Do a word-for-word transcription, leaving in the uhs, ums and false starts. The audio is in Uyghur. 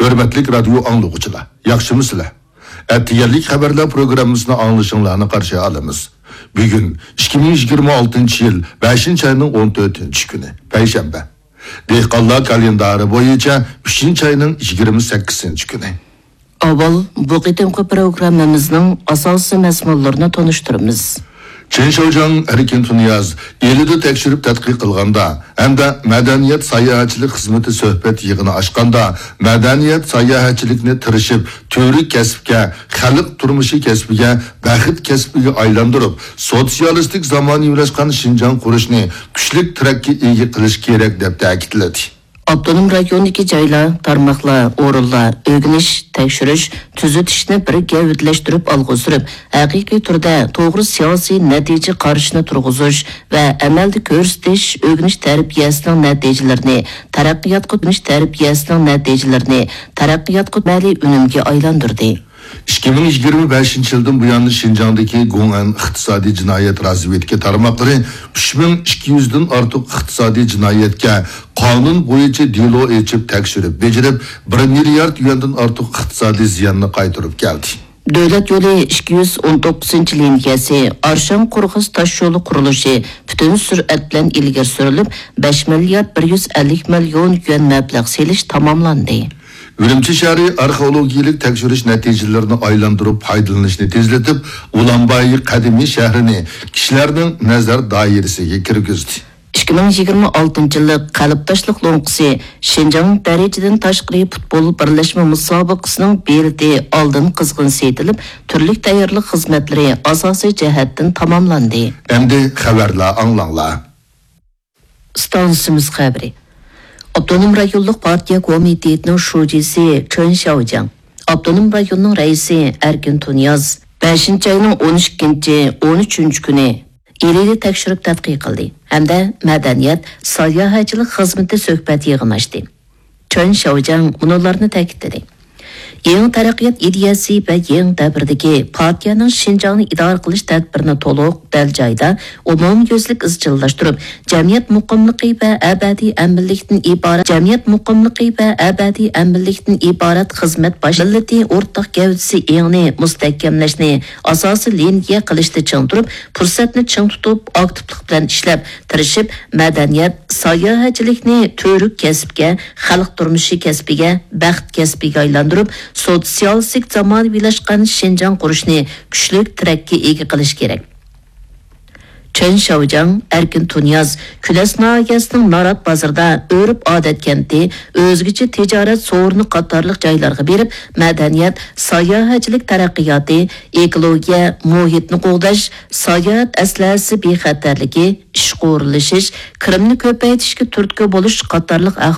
ھۆرمەتلىك رادىيو ئاڭلىغۇچىلار، ياخشىمۇسىلەر؟ ئەتىگەنلىك خەۋەرلەر پروگراممىسىنى ئاڭلىشىڭلارنى قارشى ئالىمىز. بۈگۈن ئىككى مىڭ يىگىرمە ئالتىنچى يىل بەشىنچى ئاينىڭ ئون تۆتىنچى كۈنى، پەيشەنبە. دېھقانلار كالېندارى بويىچە ئۈچىنچى ئاينىڭ يىگىرمە سەككىزىنچى كۈنى. ئاۋۋال بۇ قېتىمقى پروگراممىمىزنىڭ ئاساسىي مەزمۇنلىرىنى تونۇشتۇرىمىز. چېن شياۋجياڭ، ئەركىن تۇنىياز ئىلىدا تەكشۈرۈپ تەتقىق قىلغاندا ھەمدە مەدەنىيەت ساياھەتچىلىك خىزمىتى سۆھبەت يىغىنى ئاچقاندا، مەدەنىيەت ساياھەتچىلىكنى تىرىشىپ تۈۋرۈك كەسىپكە، خەلق تۇرمۇشى كەسپىگە، بەخت كەسپىگە ئايلاندۇرۇپ، سوتسىيالىستىك زامانىۋىلاشقان شىنجاڭ قۇرۇشنى كۈچلۈك تىرەككە ئىگە قىلىش كېرەك، دەپ تەكىتلىدى. ئاپتونوم رايوندىكى جايلار، تارماقلار، ئورۇنلار ئۆگىنىش، تەكشۈرۈش، تۈزىتىشنى بىر گەۋدىلەشتۈرۈپ ئالغا سۈرۈپ، ھەقىقىي تۈردە توغرا سىياسىي نەتىجە قارىشىنى تۇرغۇزۇش ۋە ئەمەلدە كۆرسىتىش، ئۆگىنىش تەربىيەسىنىڭ نەتىجىلىرىنى تەرەققىياتقا، ئۆگىنىش تەربىيەسىنىڭ نەتىجىلىرىنى تەرەققىياتقا، ئەمەلىي ئۈنۈمگە ئايلاندۇردى. ئىككى مىڭ يىگىرمە بەشىنچى يىلدىن بۇيان شىنجاڭدىكى گوڭئەن ئىقتىسادىي جىنايەت رازۋېدكا تارماقلىرى ئۈچ مىڭ ئىككى يۈزدىن ئارتۇق ئىقتىسادىي جىنايەتكە قانۇن بويىچە دېلو ئېچىپ تەكشۈرۈپ بېجىرىپ، بىر مىليارد يۈەندىن ئارتۇق ئىقتىسادىي زىياننى قايتۇرۇپ كەلدى. دۆلەت يولى ئىككى يۈز ئون توققۇزىنچى لىنىيەسى ئارشاڭ قورغاس تاشيولى قۇرۇلۇشى پۈتۈن سۈرئەت بىلەن ئىلگىرى سۈرۈلۈپ، بەش مىليارد بىر يۈز ئەللىك مىليون يۈەن مەبلەغ سېلىش تاماملاندى. ئۈرۈمچى شەھىرى ئارخېئولوگىيەلىك تەكشۈرۈش نەتىجىلىرىنى ئايلاندۇرۇپ پايدىلىنىشنى تېزلىتىپ، ئۇلانباي قەدىمىي شەھىرىنى كىشىلەرنىڭ نەزەر دائىرىسىگە كىرگۈزدى. ئىككى مىڭ يىگىرمە ئالتىنچى يىللىق قەلبداشلىق لوڭقىسى شىنجاڭ دەرىجىدىن تاشقىرى پۇتبول بىرلەشمە مۇسابىقىسىنىڭ بېلىتى ئالدىن قىزغىن سېتىلىپ، تۈرلۈك تەييارلىق خىزمەتلىرى ئاساسىي جەھەتتىن تاماملاندى. ئەمدى خەۋەرلەر ئاڭلاڭلار. ئىستانسىمىز خەۋىرى. ئاپتونوم رايونلۇق پارتىيە كومىتېتىنىڭ شۇجىسى چېن شياۋجياڭ، ئاپتونوم رايوننىڭ رەئىسى ئەركىن تۇنىياز بەشىنچى ئاينىڭ ئون ئىككىنچى، ئون ئۈچىنچى كۈنى ئىلىنى تەكشۈرۈپ تەتقىق قىلدى ھەمدە مەدەنىيەت، ساياھەتچىلىك خىزمىتى سۆھبەت يىغىنى ئاچتى. چېن شياۋجياڭ مۇنۇلارنى تەكىتلىدى. يېڭى تەرەققىيات ئىدىيەسى ۋە يېڭى دەۋردىكى پارتىيەنىڭ شىنجاڭنى ئىدارە قىلىش تەدبىرىنى تولۇق، دەل جايدا، ئومۇميۈزلۈك ئىزچىللاشتۇرۇپ، جەمئىيەت مۇقىملىقى ۋە ئەبەدىي ئەمىنلىكتىن ئىبارەت، جەمئىيەت مۇقىملىقى ۋە ئەبەدىي ئەمىنلىكتىن ئىبارەت خىزمەت باش مىللىتى ئورتاق گەۋدىسى ئېڭىنى مۇستەھكەملەشنى ئاساسىي لىنىيە قىلىشتا چىڭ تۇرۇپ، پۇرسەتنى چىڭ تۇتۇپ، ئاكتىپلىق بىلەن ئىشلەپ، تىرىشىپ، مەدەنىيەت، ساياھەتچىلىكنى تۈۋرۈك كەسىپكە، خەلق تۇرمۇشى كەسپىگە، بەخت كەسپىگە ئايلاندۇرۇپ، سوتسىيالىستىك زامانىۋىلاشقان شىنجاڭ قۇرۇشنى كۈچلۈك تىرەككە ئىگە قىلىش كېرەك. چېن شياۋجياڭ، ئەركىن تۇنىياز كۈلەس ناھىيەسىنىڭ نارات بازىرىدا ئۆرپ-ئادەت كەنتى، ئۆزگىچە تىجارەت سورۇنى قاتارلىق جايلارغا بېرىپ، مەدەنىيەت، ساياھەتچىلىك تەرەققىياتى، ئېكولوگىيە، مۇھىتنى قوغداش، ساياھەت ئەسلىھەسى بىخەتەرلىكى، ئىشقا ئورۇنلىشىش، كىرىمنى كۆپەيتىشكە تۈرتكە بولۇش قاتارلىق ئەھۋال